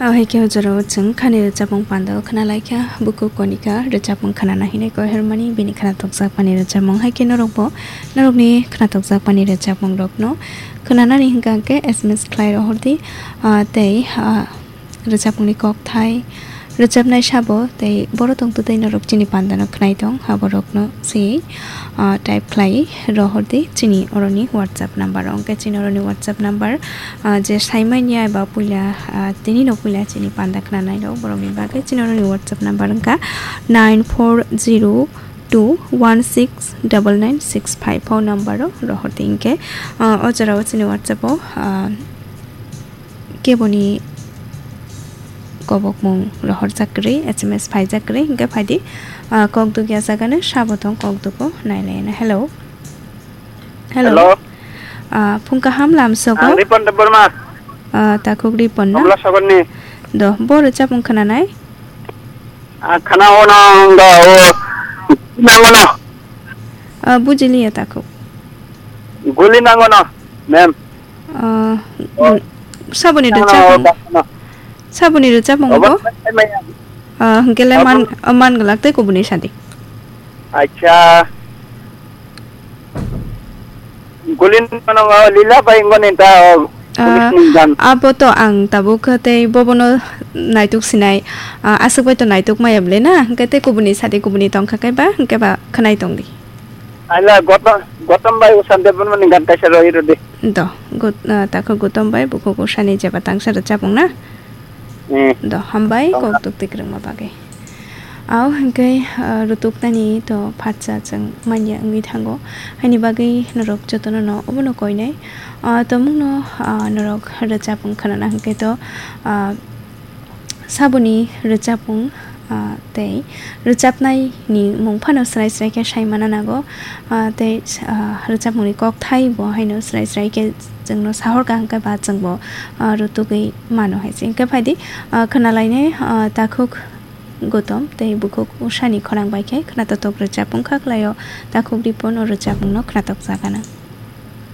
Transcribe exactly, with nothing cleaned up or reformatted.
Ahai khe o jorao chwng khani rwchapmung pandao khna lai kha, bukhuk Konika rwchapmung khnana hinwi koi hermani bini khnatokjakmani rwchapmung. Hai khe norokbo norokni khnatokjakmani rwchapmungrokno khnanani hwnkha hwnkhe S M S khlai rohor di, ah, tei, ah, rwchapmungni kokthai, rwchapnai sabo tei boro tongtwtwi norok chini pandano khnai tong, aborokno se, ah, type khlai rohor di chini oroni WhatsApp number o. Hwnkhe chini oroni WhatsApp number, ah, je saimanya eba puila, ah, tini no puila chini panda khnanai rok borokni bagwi chini oroni WhatsApp number wngkha nine four zero two one six double nine six five. Phone number o rohor di hwnkhe, ah, o jorao chini WhatsApp o, ah, keboni kobokmung rohorjak kwrwi, S M S phaijak kwrwi, hwnkhe phaidi, ah, kok dugya jagano sabo tong kok dugo nailaina. Hello. Hello. Hello. Ah, phung kaham lamsogo. Ang Ripon Debbarma. Ah, takhuk Ripon na? Komla Sogorni. Do, bo rwchapmung khnanai? Ah, khana ono do, o, nangono. Ah, bujiliya takhuk. Guli nangono, ma'am. Ah, Oh. Saboni Nangono, rwchapmung. Bakno. Saboni rwchapmung Obo bo? Maya. Ah, hwnkhe le man, Obo. Oh, man glak tei kubuni sadi. Acha. Gulin mano lila bai ngoni ta, oh, Ah, police ni dan. Abo to ang tabuk tei bobono naituk sinai, ah, aswk bai to naituk maya bwle na, hwnkhe tei kubuni sadi kubuni tongkha khe ba, hwnkhe ba khwnai tongdi. Ala Gotom, Gotom bai Usan Debbarma ni gan kaisa roi rodi. Do, Got-, ah, takho Gotom bai bukhuk Usani jeba tangsa rwchapmung na? Eh. Do, hambai Tongkha. Kok tuk tikrwngma bagwi. Au hwnkhe, ah, rutuknani to phatsa chwng manya wngwi thango. Haini bagwi norok jotono no obono koinai. Ah, tomungno, ah, norok rwchapmung khnana hwnkhe to, ah, Saboni rwchapmung, ah, tei rwchapnaini mung phano srai srai khe sai mana nango, ah, tei, ah, rwchapmungni kokthai bo haino srai srai khe chwngno sahor kaham khe ba chwngbo, ah, rutugwi mano hai se. Hwnkhe phaidi, ah, khwnalainai, ah, takhuk Gotom tei bukhuk Usani khorang bai khe khwnatotok rwchapmung kha khlaio, takhuk Ripon o rwchapmungno khwnatokjak gana.